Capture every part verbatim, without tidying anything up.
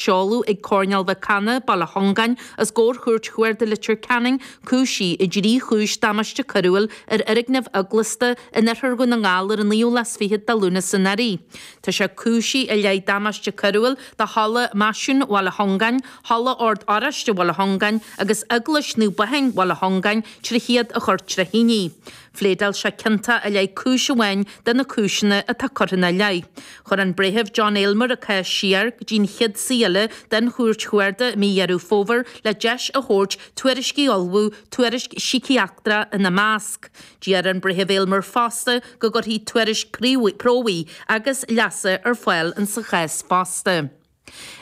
Seoladh ag Coirnéal Mhic Cana, Baile Chongáin, os comhair Chúirt Chuarda Leitir Ceanainn cúisithe i dtrí chúis damáiste coiriúil ar fhoirgneamh eaglasta in oirthear Dhún na nGall ar an naoú lá is fichead de Lúnasa anuraidh. Tá sé cúisithe i leith damáiste coiriúil do Halla Meaisín Bhaile Chongáin, Halla Ord Oráiste Bhaile Chongáin agus Eaglais Naomh Baithin Bhaile Chongáin trí chéad a chur tré thine. Phléadáil sé ciontach i leith cúis amháin de na cúiseanna atá curtha ina leith. Chuir an Breitheamh John Aylmer a cás siar go dtí'n chéad suí eile den Chúirt Chuarda i mí Dheireadh Fómhair le deis a thabhairt tuairiscí a ullmhú, tuairisc síciatrach ina measc. D'iarr an Breitheamh Aylmer fosta go gcuirfí tuairisc promhaidh agus leasa ar fáil insa chás fosta.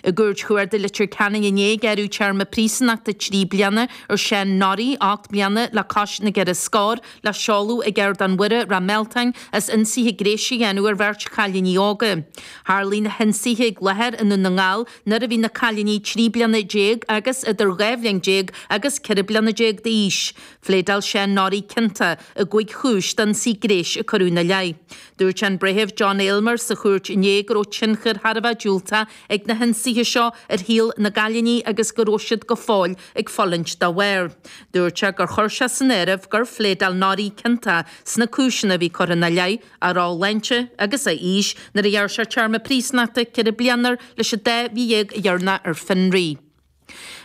I gCúirt Chuarda Leitir Ceanainn inné gearradh téarma príosúnachta trí bliana ar Seán Norrie, ocht mbliana le cois na gceithre scór, le seoladh ag Ardán Mhuire, Ráth Mealtain, as ionsaithe gnéis a dhéanamh ar bheirt chailíní óga. Tharlaigh na hionsaithe ag láthair i nDún na nGall nuair a bhí na cailíní trí bliana déag agus idir dhá bhliain déag agus ceithre bliana déag d'aois. Phléadáil Seán Norrie ciontach i gcúig chúis d'ionsaí gnéis a cuireadh ina leith. Dúirt an Breitheamh John Aylmer sa chúirt inné go raibh tionchar thar a bheith diúltach ag na hionsaithe seo ar shaol na gcailíní agus go raibh siad go fóill ag fulaingt dá bharr. Dúirt sé gur chuir sé san áireamh gur phléadáil Norrie ciontach sna cúiseanna a bhí curtha ina leith, a ró-shláinte agus a aois nuair a ghearr sé téarma príosúnachta ceithre bliana air leis an dá mhí dhéag a dheireanach ar fionraí.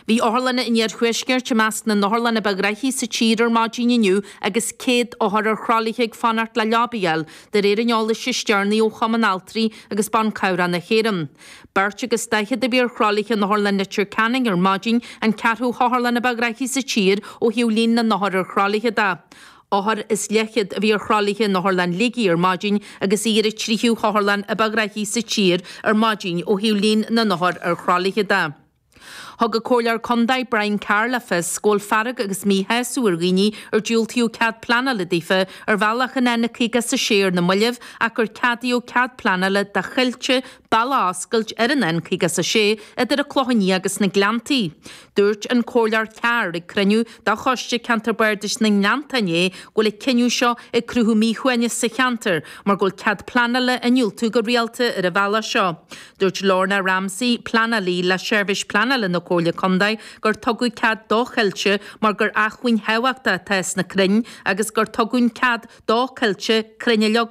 Bhí otharlanna an iarthuaiscirt i measc na n-otharlann ba ghnoithí sa tír ar maidin inniu agus céad othar ar thralaithe ag fanacht le leaba a fháil, de réir an eolais is deireanaí ó Chumann Altraí agus Ban Cabhrach na hÉireann. Beirt agus daichead a bhí ar thralaithe in Otharlann Leitir Ceanainn ar maidin, an ceathrú hotharlann ba ghnoithí sa tír ó thaobh líon na n-othar ar thralaithe de. Othar is leathchéad a bhí ar thralaithe in Otharlann Shligigh ar maidin agus í ar an tríú hotharlann ba ghnoithí sa tír ar maidin ó thaobh líon na n-othar ar thralaithe de. Thug an Comhairleoir Contae Brian Carr le fios go bhfuil fearg agus míshásamh ar dhaoine ar diúltaíodh cead pleanála daofa ar bhealach an N caoga is a sé ar na mallaibh ach gur ceadaíodh cead pleanála do Choillte bealach a oscailt ar an N caoga is a sé idir an Clochán Liath agus na Gleanntaí. Dúirt an Comhairleoir Carr ag cruinniú de Choiste Ceantar Bardais na nGleannta inné go bhfuil an cinneadh seo ag cruthú míshuaimhnis sa cheantar mar go bhfuil cead pleanála á ndiúltú go rialta ar an bhealach seo. Dúirt Lorna Ramsey, pleanálaí le Seirbhís Pleanála na Comhairle Contae, gur tugadh cead do Choillte mar gur acmhainn thábhachtach atá sna crainn agus gur tugadh cead do Choillte crainn a leagan